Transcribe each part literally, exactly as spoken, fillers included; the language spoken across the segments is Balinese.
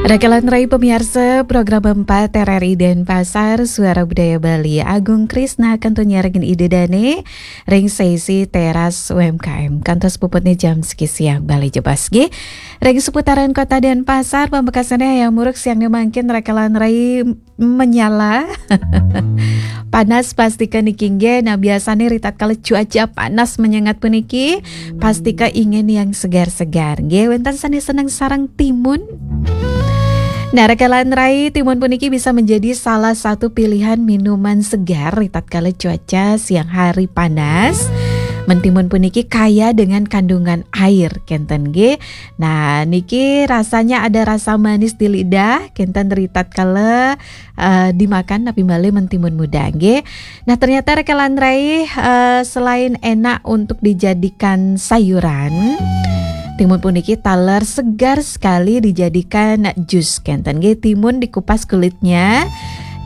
Rakelan rai pamiarsa program empat R R I Denpasar, Suara Budaya Bali, Agung Krisna kantun nyarengin Ida Dane ring sesi teras U M K M. Kantos puputne jam siki siang Bali Jebos nggih. Ring seputaran Kota Denpasar, pamekasane hayang muruk siangne mangkin rakelan rai menyala. Panas pastika niki nggih. Nah, biasane ritatkala cuaca panas menyengat puniki, pastika ingin yang segar-segar. Nggih, wenten sane seneng sareng timun? Nah, rakelan rai, timun puniki bisa menjadi salah satu pilihan minuman segar ritatkala cuaca siang hari panas. Mentimun puniki kaya dengan kandungan air, kenten nggih. Nah, niki rasanya ada rasa manis di lidah, kenten ritatkala eh, dimakan napi malih mentimun muda nggih. Nah, ternyata rakelan rai, eh, selain enak untuk dijadikan sayuran, timun puniki taler segar sekali dijadikan jus, kenten nggih. Timun dikupas kulitnya,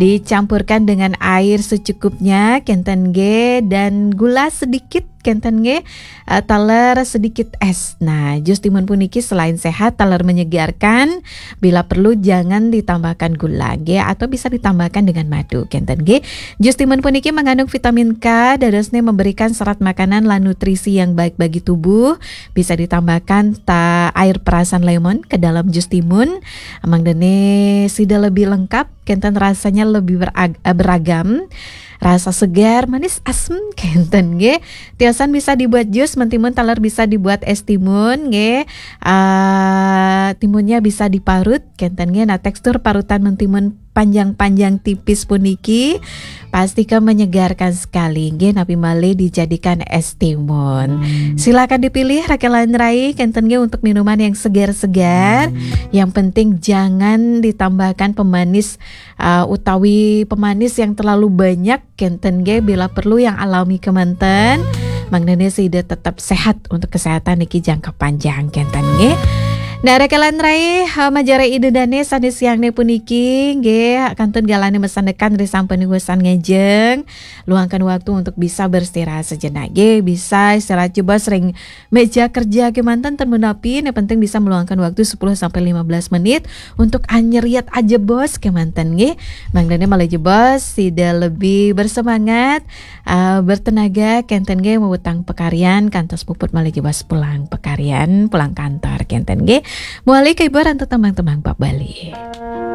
dicampurkan dengan air secukupnya, kenten nggih, dan gula sedikit, kenten nggih, eh, taler sedikit es. Nah, jus timun puniki selain sehat, taler menyegarkan, bila perlu jangan ditambahkan gula nggih, atau bisa ditambahkan dengan madu, kenten nggih. Jus timun puniki mengandung vitamin K, dadosne memberikan serat makanan lan nutrisi yang baik bagi tubuh. Bisa ditambahkan ta air perasan lemon ke dalam jus timun. Mangdane sida lebih lengkap, kenten rasanya lebih berag- eh, beragam. Rasa segar, manis, asem, kenten nggih. Tiosan bisa dibuat jus, mentimun taler bisa dibuat es timun nggih. Ah, timunnya bisa diparut, kenten nggih. Nah, tekstur parutan mentimun panjang-panjang tipis puniki pastika menyegarkan sekali nggih, napi malih dijadikan es timun. Silakan dipilih rakelan rai, kenten nggih, untuk minuman yang segar-segar. Yang penting jangan ditambahkan pemanis, uh, utawi pemanis yang terlalu banyak, kenten nggih, bila perlu yang alami kemanten. Mangdane sida tetap sehat untuk kesehatan niki jangka panjang, kenten nggih. Nah, rakelan rai, eh, majeng ring Ida Dane sane siangne puniki nggih, kantun galane masandekan ri sampun usan ngajeng. Luangkan waktu untuk bisa beristirahat sejenak nggih, bisa istirahat jebos ring meja kerja kemanten ten menapi, ne penting bisa meluangkan waktu sepuluh sampai lima belas menit untuk anyeriet ajebos kemanten nggih. Mangdane malih jebos sida lebih bersemangat, eh, bertenaga, kenten nggih, mawetang pakaryan kantos puput malih jebos pulang pakaryan, pulang kantor, kenten nggih. Mawali kaiburan tembang-tembang bab Bali.